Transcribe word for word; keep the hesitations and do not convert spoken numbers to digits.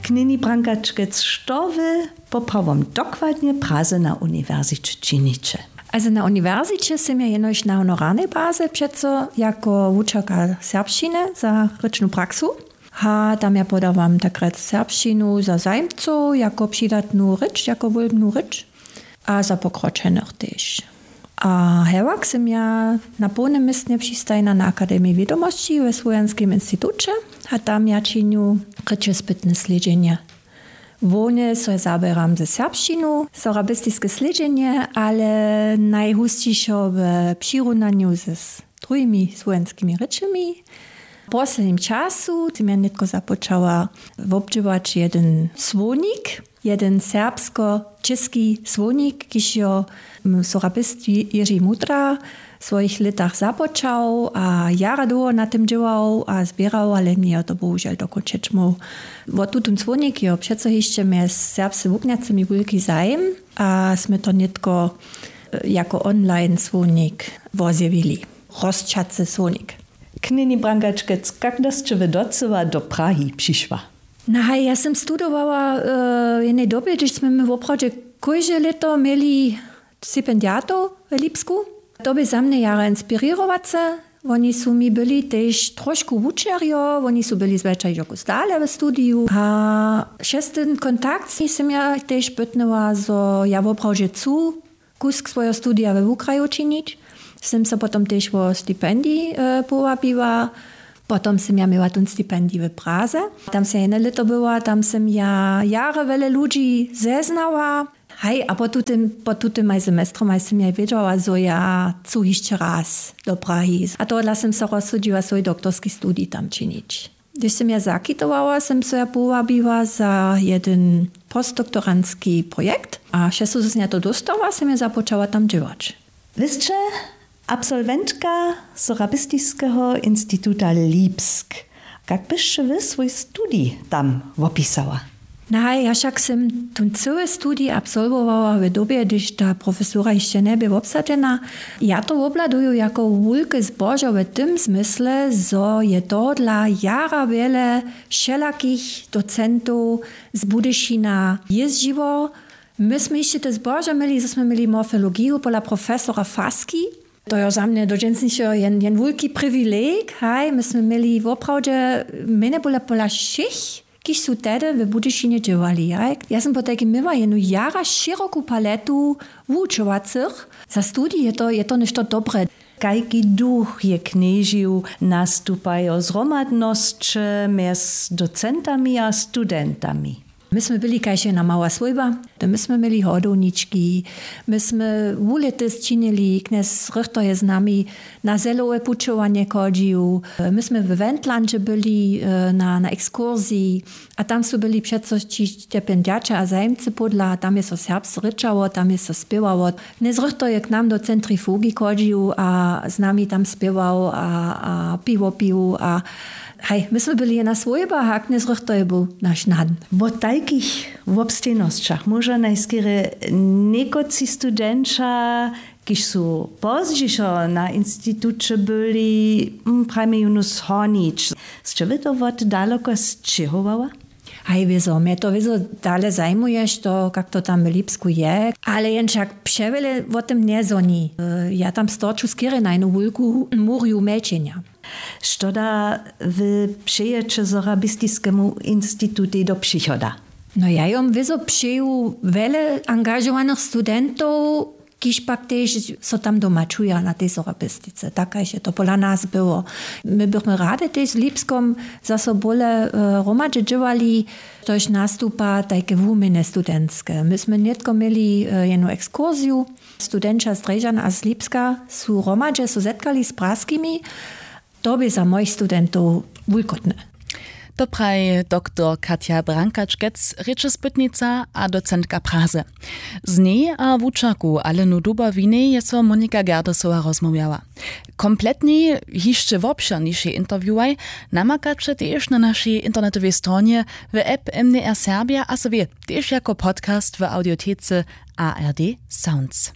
Knjeni Brankačkec, što wy poprawom dokładnje w Praze na uniwersiće činiće? Also na uniwersiće sym ja jenož na honorarnej baze přeco jako wučerka serbšćiny za rěčnu praksu. A tam ja podawam tak rjec serbšćinu za zajimcow jako přidatnu rěč, jako wólbnu rěč a za pokročenych tež. A hewak sym ja na połnym městnje přistajena na Akademiji wědomosći we Słowjanskim instituće a tam ja činju rěčespytne slědźenje. Hłownje so zaběram ze serbšćinu, sorabistiske slědźenje, ale najhusćišo w přirunanju z druhimi słowjanskimi rěčemi. W poslednim času sym ja nětko započała wobdźěłać jedyn słownik, jedyn serbsko-čěski słownik, kiž jo, mm, sorabist Ji-, Jiři Mudra w swojich lětach započał a jara dołho na tym dźěłał a zběrał, ale njejo to bohužel dokónčeć móhł. Wo tutón słownik jo přeco hišće mjez serbsce wuknjacymi wulki zajim a smy to nětko, e, jako online słownik wozjewili. Rosćacy słownik. Knjeni Brankačkec, kak da sće wy docyła do Prahi přišła? No haj, ja sym studowała, e, w jednej dobje, hdyž smy my woprawdźe kóžde lěto měli stipendiatow w Lipsku. To bě za mnje jara inspirěrowace. Woni su mi byli tež trošku wučerjo, woni su byli zwjetša hižo kus dale w studiju. A přez tyn kontakt sym ja tež pytnyła, zo ja woprawdźe chcu kusk swojeho studija we wukraju činić. Sym so potom tež wo stipendij, e, powabiła. Potom sym ja měła tón stipendij w Praze. Tam sym ja jedne lěto była, tam sym ja jara wjele ludźi zeznała. Haj, a po tutym, po tutymaj semestrom haj sym ja wědźała, zo ja chcu hišće raz do Prahi. A tohodla sym so rozsudźiła swój doktorski studij tam činić. Hdyž sym ja zakitowała, sym so ja powabiła za jedyn postdoktorantski projekt a přez to, zo sym ja to dóstała, sym ja započała tam dźěłać. Wy sće absolwentka Sorabistiskeho instituta Lipsk. Kak byšće wy swój studij tam wopisała? Naj, ja wšak sym tón cyły studij absolwowała w dobje, hdyž ta profesura hišće njebě wobsadźena. Ja to wobhladuju jako wulke zbožo w tym zmysle, zo je tohodla jara wjele wšelakich docentow z Budyšina jězdźiło. My smy hišće te zbožo měli, zo smy měli morfologiju pola profesora Faski. To jo za mnje do dźensnišeho jen, jen wulki priwileg, haj, my smy měli woprawdźe mjenje pola, pola wšěch, kiž su tehdy w Budyšinje dźěłali, haj. Ja sym potajkim měła jednu jara šěroku paletu wučowacych. Za studij je to, je to něšto dobre. Kajki duch je knježił, nastupajo zhromadnosće mjez docentami a studentami? My smy byli kaž jedna mała swójba. My smy měli hodownički, my smy wulětys činili, knjez Rychter je z nami na zelowe pućowanje chodźił, my smy w Wendlandźe byli, e, na, na ekskursiji a tam su byli přeco ći stipendiaće a zajimcy podla, tam je so serbsce rěčało, tam je so spěwało. Knjez Rychter je k nam do centrifugi chodźił a z nami tam spěwał a, a piwo pił a haj, my smy byli jedna swójba, a knjez Rychter je był naš nan. Wo tajkich wobstejnosćach móža najskerje někotři studentša, kiž su pozdźišo na instituće byli, mm, prajmy jónu zhonić. Sće wy to wot daloko sćěhowała? Haj, wězo, mje to wězo dale zajimuje, što, kak to tam w Lipsku je, ale jen wšak přewjele wo tym njezhoni. E, ja tam storču skerje na jednu wulku murju mjelčenja. Što da wy přejeće Sorabistiskemu institutej do přichoda? No, ja jom wězo přeju wjele angažowanych studentow, kiž pak tež so tam doma čuja na tej sorabistice. Tak kaž je to pola nas było. My bychmy rady tež z Lipskom zaso bóle, e, hromadźe dźěłali, štož nastupa tajke wuměny studentske. My smy nětko měli, e, jednu ekskursiju. Studentša z Drježdźan a z Lipska su hromadźe so zetkali z praskimi. To bě za mojich studentow wulkotne. To praji doktor Katja Brankačkec, rěčespytnica a docentka Praze. Z njej a wučerku Alenu Dubowinej je so Monika Gerdesowa rozmołwjała. Kompletni, hišće wobšěrniši interviewaj namakaće tež na našej internetowej stronje, w app M D R Serbia a so wě tež jako podcast w audiotece A R D Sounds.